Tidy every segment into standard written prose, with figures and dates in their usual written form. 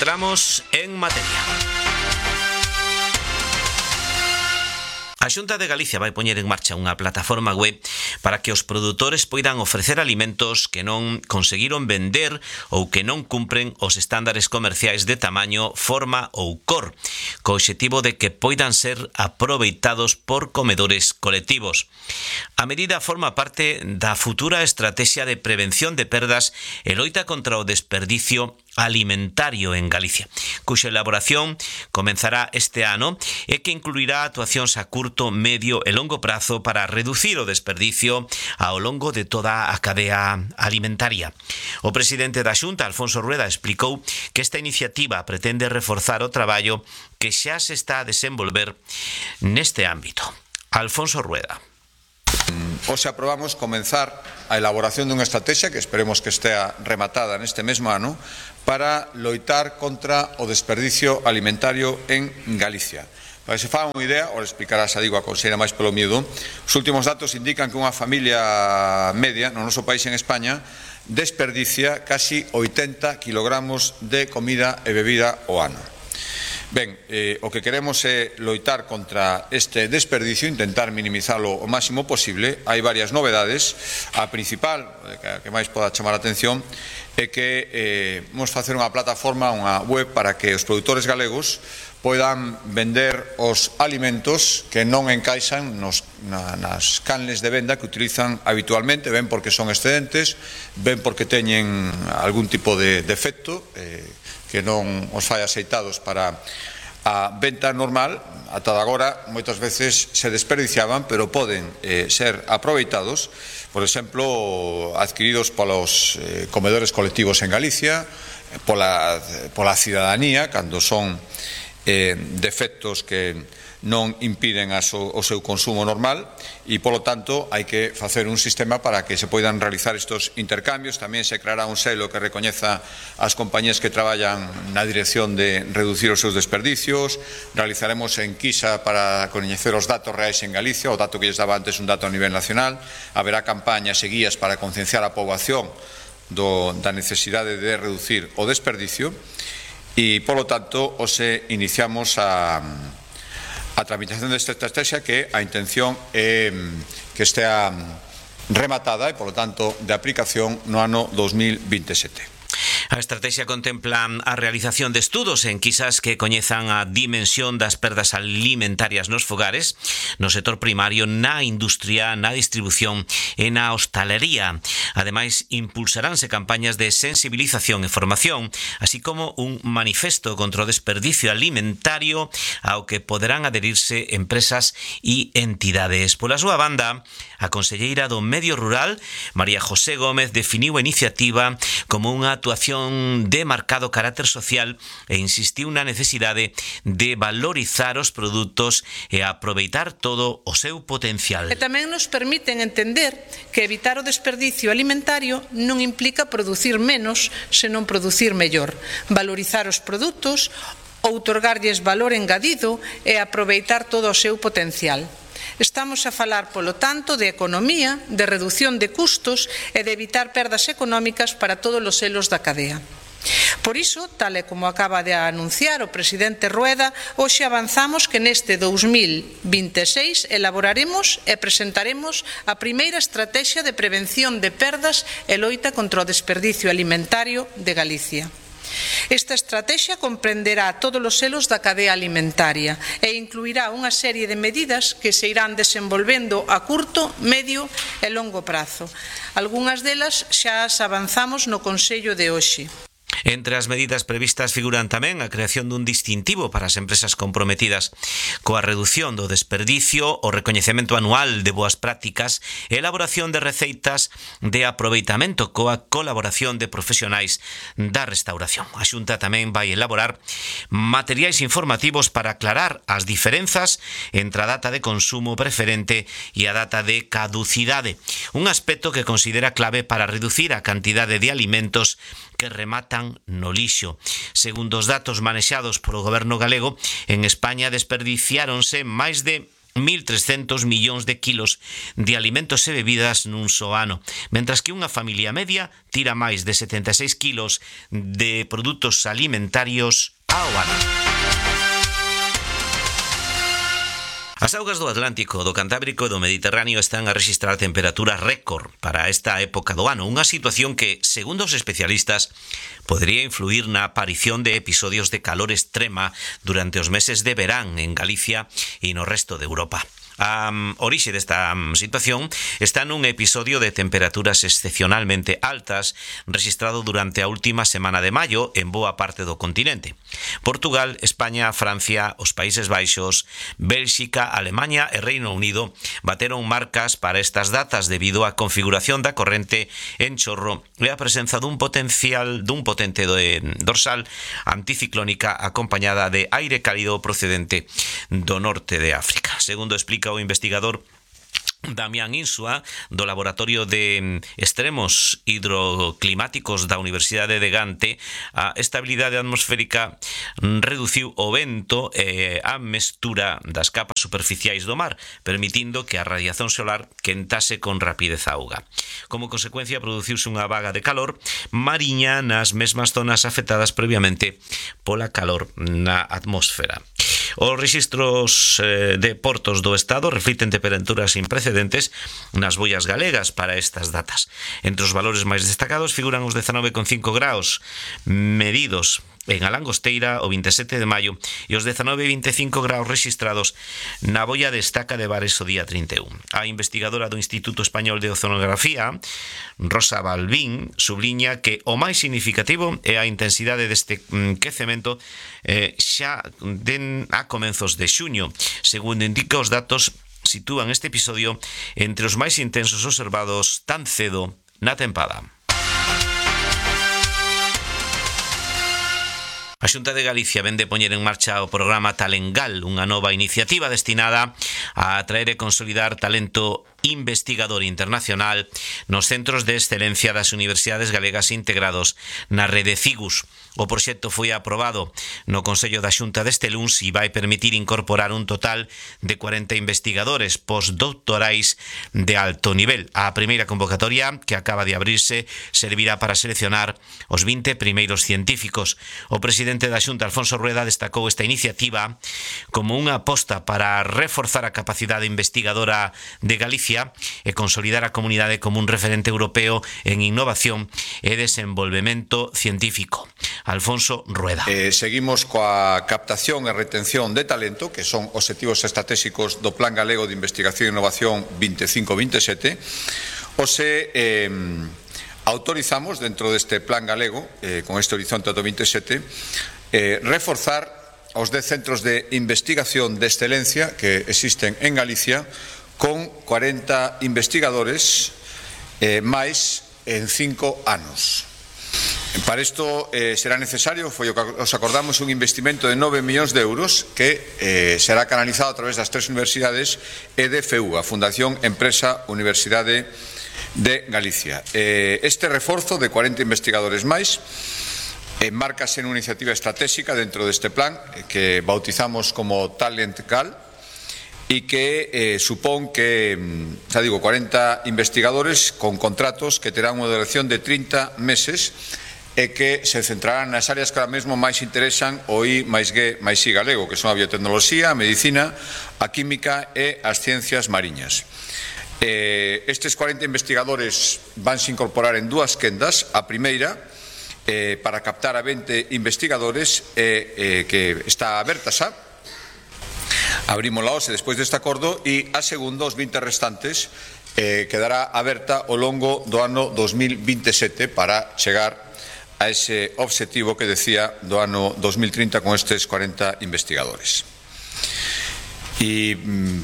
entramos en materia. A Xunta de Galicia vai poñer en marcha unha plataforma web para que os produtores poidan ofrecer alimentos que non conseguiron vender ou que non cumpren os estándares comerciais de tamaño, forma ou cor, co obxectivo de que poidan ser aproveitados por comedores colectivos. A medida forma parte da futura estrategia de prevención de perdas e loita contra o desperdicio alimentario en Galicia, cuxa elaboración comenzará este ano e que incluirá actuacións a curto, medio e longo prazo para reducir o desperdicio ao longo de toda a cadea alimentaria. O presidente da Xunta, Alfonso Rueda, explicou que esta iniciativa pretende reforzar o traballo que xa se está a desenvolver neste ámbito. Alfonso Rueda. Hoxe aprobamos comenzar a elaboración dunha estrategia que esperemos que estea rematada neste mesmo ano para loitar contra o desperdicio alimentario en Galicia. Para que se faga unha idea, ora explicará, xa digo, a conselleira máis polo miúdo, os últimos datos indican que unha familia media no noso país en España desperdicia casi 80 kilogramos de comida e bebida ao ano. Ben, o que queremos é loitar contra este desperdicio, intentar minimizalo o máximo posible. Hai varias novedades. A principal, que máis poda chamar a atención, é que vamos facer unha plataforma, unha web, para que os produtores galegos poidan vender os alimentos que non encaixan nas canles de venda que utilizan habitualmente, ben porque son excedentes, ben porque teñen algún tipo de defecto que non os fai aceitados para a venta normal. Ata agora moitas veces se desperdiciaban, pero poden ser aproveitados, por exemplo, adquiridos polos comedores colectivos en Galicia, pola cidadanía, cando son defectos que non impiden o seu consumo normal, e polo tanto hai que facer un sistema para que se poidan realizar estos intercambios. Tamén se creará un selo que recoñeza as compañías que traballan na dirección de reducir os seus desperdicios. Realizaremos enquisa para coñecer os datos reais en Galicia. O dato que lles daba antes un dato a nivel nacional. Haberá campañas e guías para concienciar a poboación da necesidade de reducir o desperdicio, e polo tanto hoxe iniciamos a tramitación desta estrategia, que a intención é que estea rematada e, polo tanto, de aplicación no ano 2027. A estrategia contempla a realización de estudos en enquisas que coñezan a dimensión das perdas alimentarias nos fogares, no sector primario, na industria, na distribución e na hostalería. Ademais, impulsaránse campañas de sensibilización e formación, así como un manifesto contra o desperdicio alimentario ao que poderán adherirse empresas e entidades. Pola súa banda, a conselleira do Medio Rural, María José Gómez, definiu a iniciativa como unha actuación de marcado carácter social e insistiu na necesidade de valorizar os produtos e aproveitar todo o seu potencial. E tamén nos permiten entender que evitar o desperdicio alimentario non implica producir menos, senón producir mellor, valorizar os produtos, outorgarlles valor engadido e aproveitar todo o seu potencial. Estamos a falar, polo tanto, de economía, de reducción de custos e de evitar perdas económicas para todos os elos da cadea. Por iso, tal e como acaba de anunciar o presidente Rueda, hoxe avanzamos que neste 2026 elaboraremos e presentaremos a primeira estrategia de prevención de perdas e loita contra o desperdicio alimentario de Galicia. Esta estrategia comprenderá todos os elos da cadea alimentaria e incluirá unha serie de medidas que se irán desenvolvendo a curto, medio e longo prazo. Algunhas delas xa as avanzamos no Consello de hoxe. Entre as medidas previstas figuran tamén a creación dun distintivo para as empresas comprometidas coa reducción do desperdicio, o recoñecemento anual de boas prácticas e elaboración de receitas de aproveitamento coa colaboración de profesionais da restauración. A Xunta tamén vai elaborar materiais informativos para aclarar as diferenzas entre a data de consumo preferente e a data de caducidade, un aspecto que considera clave para reducir a cantidade de alimentos que rematan no lixo. Segundo os datos manexados polo goberno galego, en España desperdiciáronse máis de 1.300 millóns de kilos de alimentos e bebidas nun só ano, mentras que unha familia media tira máis de 76 kilos de produtos alimentarios ao ano. As augas do Atlántico, do Cantábrico e do Mediterráneo están a rexistrar temperaturas récord para esta época do ano, unha situación que, segundo os especialistas, podría influir na aparición de episodios de calor extrema durante os meses de verán en Galicia e no resto de Europa. A orixe desta situación está nun episodio de temperaturas excepcionalmente altas registrado durante a última semana de maio en boa parte do continente. Portugal, España, Francia, os Países Baixos, Bélxica, Alemaña e Reino Unido bateron marcas para estas datas debido á configuración da corrente en chorro e a presenza dun potente dorsal anticiclónica acompañada de aire cálido procedente do norte de África. Segundo explica o investigador Damián Insua, do Laboratorio de Extremos Hidroclimáticos da Universidade de Gante, a estabilidade atmosférica reduciu o vento e a mestura das capas superficiais do mar, permitindo que a radiación solar quentase con rapidez a auga. Como consecuencia, produciuse unha vaga de calor mariña nas mesmas zonas afectadas previamente pola calor na atmosfera. Os rexistros de portos do Estado reflicten temperaturas sin precedentes nas boias galegas para estas datas. Entre os valores máis destacados figuran os 19,5 graus medidos en a Langosteira o 27 de maio e os 19,25 graus registrados na boia de Estaca de Bares o día 31. A investigadora do Instituto Español de Oceanografía, Rosa Balbín, subliña que o máis significativo é a intensidade deste quecemento xa a comenzos de xuño. Segundo indica os datos, sitúan este episodio entre os máis intensos observados tan cedo na tempada. A Xunta de Galicia vén de poñer en marcha o programa Talengal, unha nova iniciativa destinada a atraer e consolidar talento investigador internacional nos centros de excelencia das universidades galegas integrados na rede CIGUS. O proxecto foi aprobado no Consello da Xunta deste luns e vai permitir incorporar un total de 40 investigadores postdoctorais de alto nivel. A primeira convocatoria, que acaba de abrirse, servirá para seleccionar os 20 primeiros científicos. O presidente da Xunta, Alfonso Rueda, destacou esta iniciativa como unha aposta para reforzar a capacidade investigadora de Galicia e consolidar a comunidade como un referente europeo en innovación e desenvolvemento científico. Alfonso Rueda. Seguimos coa captación e retención de talento, que son obxectivos estratégicos do Plan Galego de Investigación e Innovación 25-27. Autorizamos dentro deste Plan Galego, con este horizonte do 27, reforzar os 10 centros de investigación de excelencia que existen en Galicia con 40 investigadores máis en 5 anos. Para isto será necesario, foi o que os acordamos, un investimento de 9 millóns de euros que será canalizado a través das 3 universidades e de FEU, a Fundación Empresa Universidade de Galicia. Este reforzo de 40 investigadores máis enmárcase nunha iniciativa estratégica dentro deste plan que bautizamos como Talengal, e que supón que, 40 investigadores con contratos que terán unha duración de 30 meses e que se centrarán nas áreas que ahora mesmo máis interesan o I+G+I galego, que son a biotecnoloxía, a medicina, a química e as ciencias mariñas. Estes 40 investigadores vanse incorporar en 2 quendas. A primeira, para captar a 20 investigadores que está aberta xa, abrimos la OSE despois deste acordo, e a segunda, os 20 restantes, quedará aberta ao longo do ano 2027 para chegar a ese obxectivo que decía do ano 2030 con estes 40 investigadores. E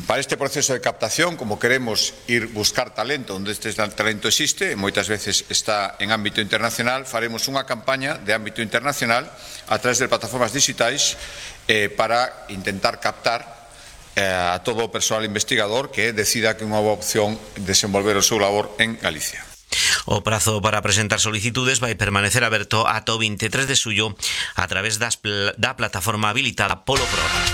para este proceso de captación, como queremos ir buscar talento onde este talento existe, moitas veces está en ámbito internacional, faremos unha campaña de ámbito internacional a través de plataformas digitais para intentar captar a todo o persoal investigador que decida que é unha boa opción desenvolver o seu labor en Galicia. O prazo para presentar solicitudes vai permanecer aberto ata o 23 de xullo a través da plataforma habilitada polo programa.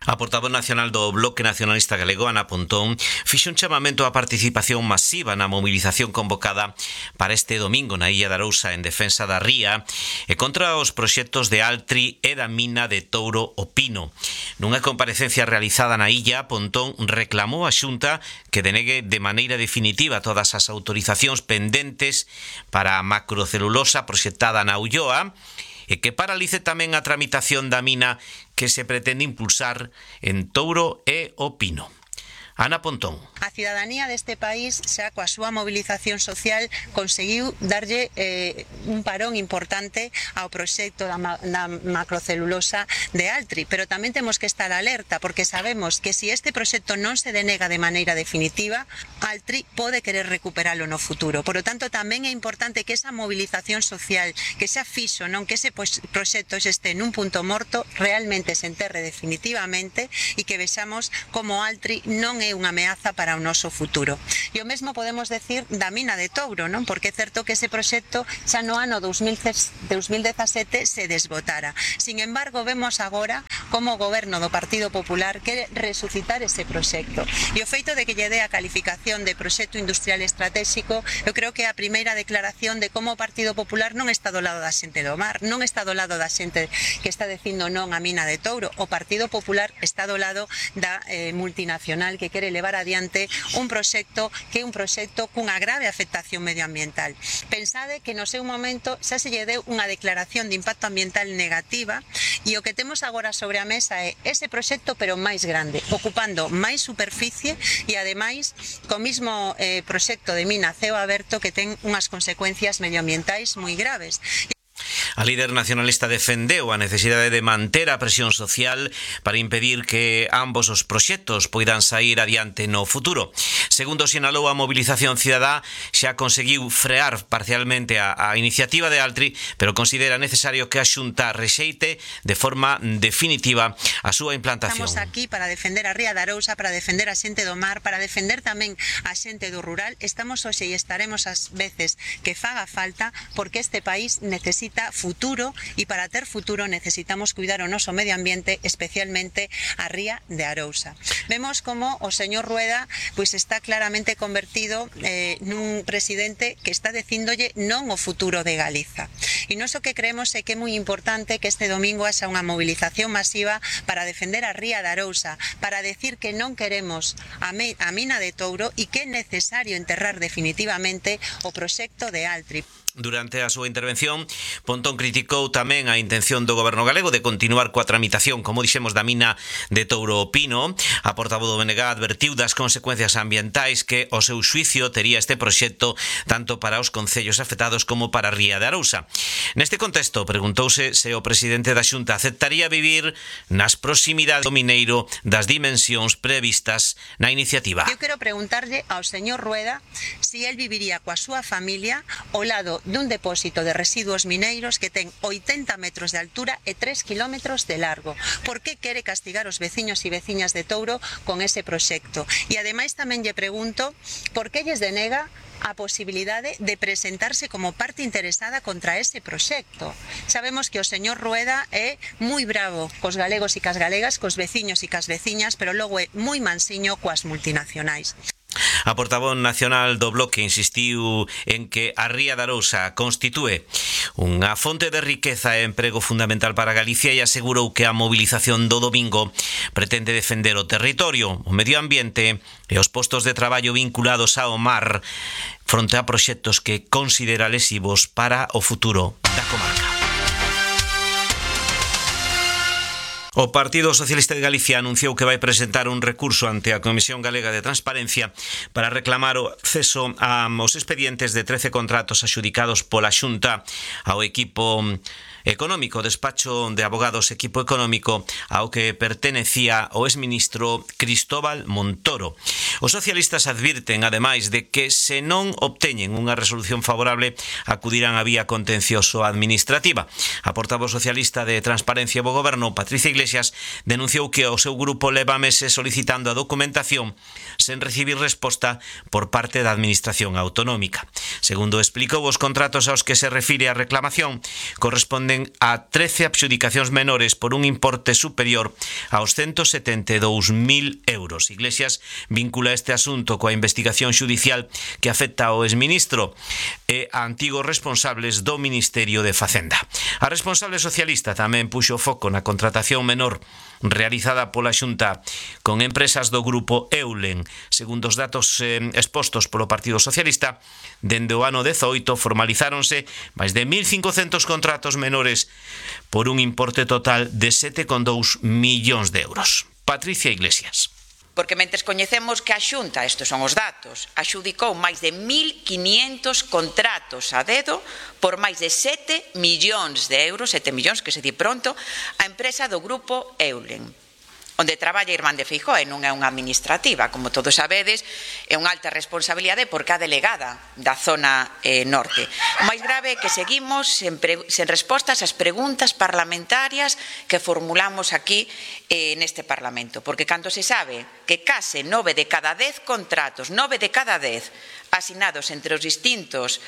A portavoz nacional do Bloque Nacionalista Galego, Ana Pontón, fixo un chamamento á participación masiva na mobilización convocada para este domingo na Illa de Arousa en defensa da ría e contra os proxectos de Altri e da mina de Touro o Pino. Nunha comparecencia realizada na illa, Pontón reclamou á Xunta que denegue de maneira definitiva todas as autorizacións pendentes para a macrocelulosa proxectada na Ulloa e que paralice tamén a tramitación da mina que se pretende impulsar en Touro e o Pino. Ana Pontón. A cidadanía deste país xa coa súa mobilización social conseguiu darlle un parón importante ao proxecto da macrocelulosa de Altri, pero tamén temos que estar alerta porque sabemos que se este proxecto non se denega de maneira definitiva, Altri pode querer recuperalo no futuro. Por lo tanto, tamén é importante que esa movilización social que xa fixo, non que ese proxecto este nun punto morto, realmente se enterre definitivamente e que vexamos como Altri non é unha ameaza para o noso futuro. E o mesmo podemos decir da mina de Touro, non? Porque é certo que ese proxecto xa no ano 2017 se desbotara. Sin embargo, vemos agora como o goberno do Partido Popular quere resucitar ese proxecto. E o feito de que lle dé a calificación de proxecto industrial estratégico, eu creo que é a primeira declaración de como o Partido Popular non está do lado da xente do mar, non está do lado da xente que está dicindo non a mina de Touro. O Partido Popular está do lado da multinacional que quere levar adiante un proxecto que é un proxecto cunha grave afectación medioambiental. Pensade que no seu momento xa se lle deu unha declaración de impacto ambiental negativa e o que temos agora sobre a mesa é ese proxecto pero máis grande, ocupando máis superficie e ademais co mismo proxecto de mina a ceo aberto que ten unhas consecuencias medioambientais moi graves. A líder nacionalista defendeu a necesidade de manter a presión social para impedir que ambos os proxectos poidan sair adiante no futuro. Segundo sinalou, a mobilización cidadá xa conseguiu frear parcialmente a iniciativa de Altri, pero considera necesario que a Xunta rexeite de forma definitiva a súa implantación. Estamos aquí para defender a Ría de Arousa, para defender a xente do mar, para defender tamén a xente do rural. Estamos hoxe e estaremos as veces que faga falta porque este país necesita futuro e para ter futuro necesitamos cuidar o noso medio ambiente, especialmente a Ría de Arousa. Vemos como o señor Rueda pois está claramente convertido nun presidente que está dicíndolle non o futuro de Galiza. E nós o que creemos é que é moi importante que este domingo haxa unha movilización masiva para defender a Ría de Arousa, para decir que non queremos a mina de Touro e que é necesario enterrar definitivamente o proxecto de Altri. Durante a súa intervención, Pontón criticou tamén a intención do goberno galego de continuar coa tramitación, como dixemos, da mina de Touro o Pino. A portavoz do BNG advertiu das consecuencias ambientais que o seu xuicio tería este proxecto tanto para os concellos afectados como para a Ría de Arousa. Neste contexto, preguntouse se o presidente da Xunta aceptaría vivir nas proximidades do mineiro das dimensións previstas na iniciativa. Eu quero preguntarlle ao señor Rueda se el viviría coa súa familia ao lado dun depósito de residuos mineiros que ten 80 metros de altura e 3 kilómetros de largo. Por que quere castigar os veciños e veciñas de Touro con ese proxecto? E ademais tamén lle pregunto por que lles denega a posibilidade de presentarse como parte interesada contra ese proxecto. Sabemos que o señor Rueda é moi bravo cos galegos e cas galegas, cos veciños e cas veciñas, pero logo é moi mansiño coas multinacionais. A portavoz nacional do Bloque insistiu en que a Ría de Arousa constitúe unha fonte de riqueza e emprego fundamental para Galicia e asegurou que a movilización do domingo pretende defender o territorio, o medio ambiente e os postos de traballo vinculados ao mar fronte a proxectos que considera lesivos para o futuro da comarca. O Partido Socialista de Galicia anunciou que vai presentar un recurso ante a Comisión Galega de Transparencia para reclamar o acceso aos expedientes de 13 contratos adxudicados pola Xunta ao equipo económico, despacho de abogados equipo económico ao que pertenecía o exministro Cristóbal Montoro. Os socialistas advirten, ademais, de que se non obteñen unha resolución favorable acudirán á vía contencioso administrativa. A portavoz socialista de Transparencia do Goberno, Patricia Iglesias, Iglesias denunciou que o seu grupo leva meses solicitando a documentación sen recibir resposta por parte da Administración Autonómica. Segundo explicou, os contratos aos que se refire a reclamación corresponden a 13 adxudicacións menores por un importe superior aos 172.000 euros. Iglesias vincula este asunto coa investigación xudicial que afecta ao exministro e a antigos responsables do Ministerio de Facenda. A responsable socialista tamén puxo foco na contratación menor realizada pola Xunta con empresas do grupo Eulen. Segundo os datos expostos polo Partido Socialista, dende o ano 18 formalizáronse máis de 1.500 contratos menores por un importe total de 7,2 millóns de euros. Patricia Iglesias. Porque mentres coñecemos que a Xunta, estes son os datos, axudicou máis de 1.500 contratos a dedo por máis de 7 millóns de euros, 7 millóns que se di pronto, a empresa do grupo Eulen, onde traballa Irmán de Feijóo, e non é unha administrativa, como todos sabedes, é unha alta responsabilidade porque é a delegada da zona norte. O máis grave é que seguimos sen respostas ás preguntas parlamentarias que formulamos aquí neste Parlamento, porque cando se sabe que case 9 de cada 10 contratos, 9 de cada 10 asinados entre os distintos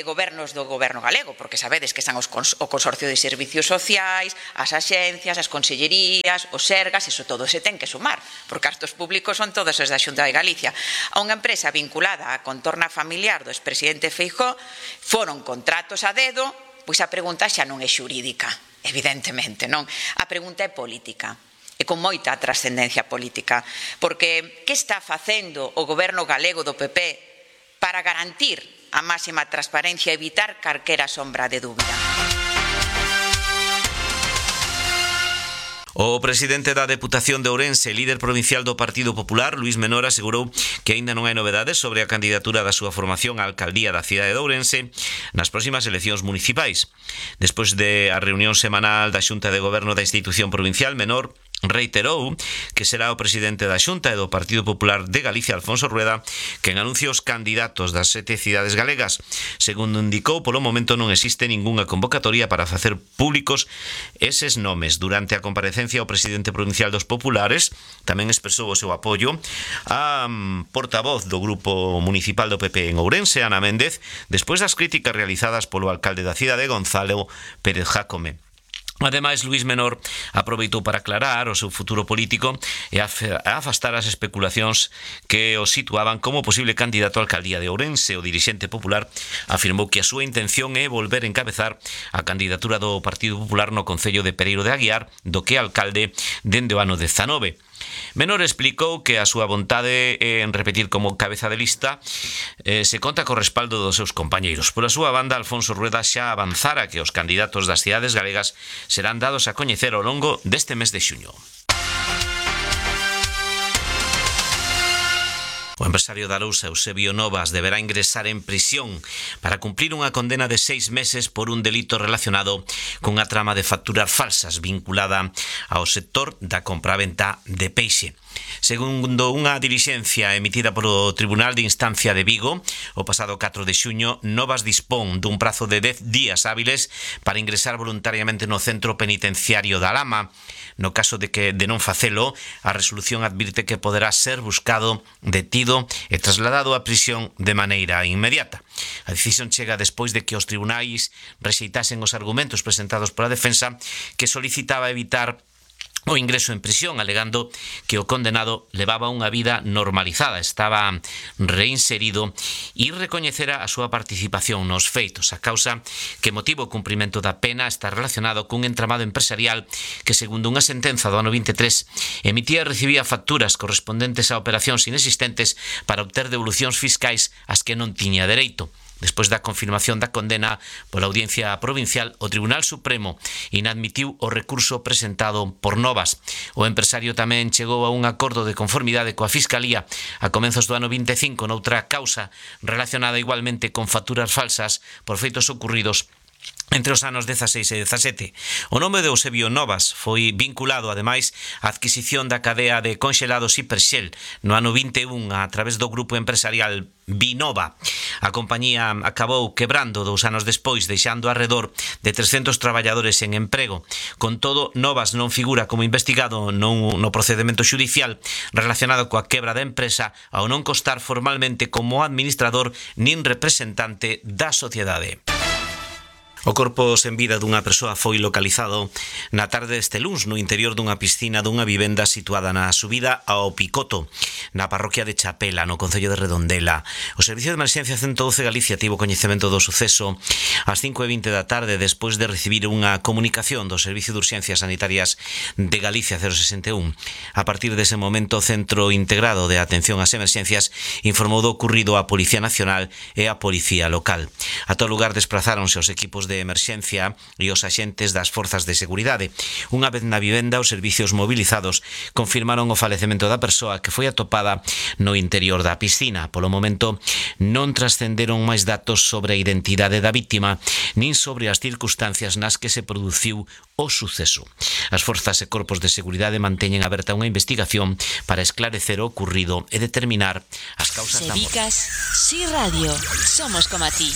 gobernos do goberno galego, porque sabedes que están o Consorcio de Servicios Sociais, as axencias, as consellerías, os sergas, iso todo se ten que sumar, porque cartos públicos son todos os da Xunta de Galicia. A unha empresa vinculada á contorna familiar do expresidente Feijóo foron contratos a dedo, pois a pregunta xa non é xurídica, evidentemente, non? A pregunta é política. E con moita trascendencia política, porque que está facendo o goberno galego do PP para garantir a máxima transparencia e evitar calquera sombra de dúbida? O presidente da Deputación de Ourense, líder provincial do Partido Popular, Luís Menor, asegurou que aínda non hai novedades sobre a candidatura da súa formación á alcaldía da cidade de Ourense nas próximas eleccións municipais. Despois de a reunión semanal da Xunta de Goberno da institución provincial, Menor reiterou que será o presidente da Xunta e do Partido Popular de Galicia, Alfonso Rueda, quen anuncia os candidatos das 7 cidades galegas. Segundo indicou, polo momento non existe ningunha convocatoria para facer públicos eses nomes. Durante a comparecencia, o presidente provincial dos Populares tamén expresou o seu apoio a portavoz do Grupo Municipal do PP en Ourense, Ana Méndez, despois das críticas realizadas polo alcalde da cidade, Gonzalo Pérez Jácome. Ademais, Luís Menor aproveitou para aclarar o seu futuro político e afastar as especulacións que o situaban como posible candidato á alcaldía de Ourense. O dirixente popular afirmou que a súa intención é volver a encabezar a candidatura do Partido Popular no concello de Pereiro de Aguiar, do que é alcalde dende o ano 19. Menor explicou que a súa vontade en repetir como cabeza de lista se conta co respaldo dos seus compañeiros. Por a súa banda, Alfonso Rueda xa avanzara que os candidatos das cidades galegas serán dados a coñecer ao longo deste mes de xuño. O empresario da Arousa, Eusebio Novas, deberá ingresar en prisión para cumplir unha condena de 6 meses por un delito relacionado cunha trama de facturas falsas vinculada ao sector da compraventa de peixe. Segundo unha dilixencia emitida polo Tribunal de Instancia de Vigo, o pasado 4 de xuño, Novas dispón dun prazo de 10 días hábiles para ingresar voluntariamente no centro penitenciario da Lama. No caso de non facelo, a resolución advirte que poderá ser buscado, detido e trasladado á prisión de maneira inmediata. A decisión chega despois de que os tribunais rexeitasen os argumentos presentados pola defensa, que solicitaba evitar o ingreso en prisión, alegando que o condenado levaba unha vida normalizada, estaba reinserido e recoñecera a súa participación nos feitos. A causa que motiva o cumprimento da pena está relacionado cun entramado empresarial que, segundo unha sentenza do ano 23, emitía e recibía facturas correspondentes a operacións inexistentes para obter devolucións fiscais ás que non tiña dereito. Despois da confirmación da condena pola Audiencia Provincial, o Tribunal Supremo inadmitiu o recurso presentado por Novas. O empresario tamén chegou a un acordo de conformidade coa Fiscalía a comenzos do ano 25 noutra causa relacionada igualmente con facturas falsas por feitos ocurridos entre os anos 16 e 17. O nome de Eusebio Novas foi vinculado, ademais, á adquisición da cadea de conxelados Hiperxel no ano 21 a través do grupo empresarial Vinova. A compañía acabou quebrando 2 anos despois, deixando arredor de 300 traballadores en emprego. Con todo, Novas non figura como investigado no procedemento xudicial relacionado coa quebra da empresa, ao non constar formalmente como administrador nin representante da sociedade. O corpo sen vida dunha persoa foi localizado na tarde deste luns no interior dunha piscina dunha vivenda situada na subida ao Picoto, na parroquia de Chapela, no concello de Redondela. O Servicio de Emerxencia 112 Galicia tivo coñecemento do suceso ás 5:20 da tarde despois de recibir unha comunicación do Servicio de Urxencias Sanitarias de Galicia 061. A partir dese momento, o Centro Integrado de Atención ás Emerxencias informou do ocurrido á Policía Nacional e á Policía Local. A todo lugar desplazáronse os equipos de emerxencia e os axentes das forzas de seguridade. Unha vez na vivenda, os servicios movilizados confirmaron o falecemento da persoa que foi atopada no interior da piscina. Polo momento, non trascenderon máis datos sobre a identidade da vítima nin sobre as circunstancias nas que se produciu o suceso. As forzas e corpos de seguridade manteñen aberta unha investigación para esclarecer o ocurrido e determinar as causas da morte. Sevicas, Si Radio, somos como a ti.